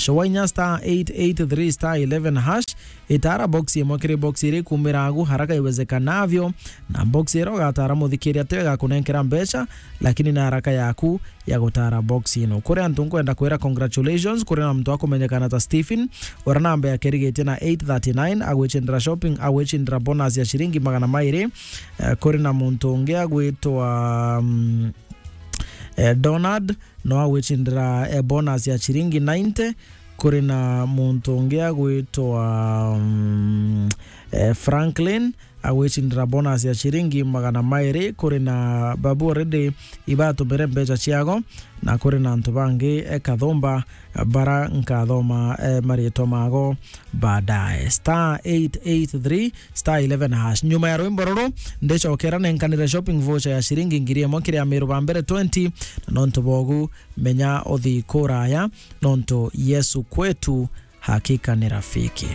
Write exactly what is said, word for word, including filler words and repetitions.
Wainya star eight eight three star eleven hash, itara box imwe kiri box iri kumira agu haraka iwezekanavyo, na box ira ugatara muthikiria tio igakunenkera mbeca, lakini na haraka yaku ya gutara box ino. Kuri antu nkwenda kwira congratulations, kuri na muntu akumenyekana ta Stephen, ura namba yake irigitie na eight thirty-nine, agwicindira shopping, agwicindira bonus ya ciringi magana mairi. Eh, kuri na muntu ungi agwitwa, mm, eh, Donald, no agwicindira, eh, bonus ya ciringi ninety. Kuri na muntu ungi agwitwa, mm, eh, Franklin, agwicindira bonus ya ciringi magana mairi. Kuri na babu already ibatumire mbeca ciago, na kuri na antu bangi, eh, kathumba, eh, bara nkathoma, eh, maritwa mago baadaye. Star eight eight three star eleven hash. Nyuma ya rwimbo ruru, ndicokera nenkanire shopping voucher ya ciringi ngiri imwe kiri Amiru ba mbere twenty, na nontu bogu, menya uthi kuraya, nontu Yesu kwetu hakika ni rafiki.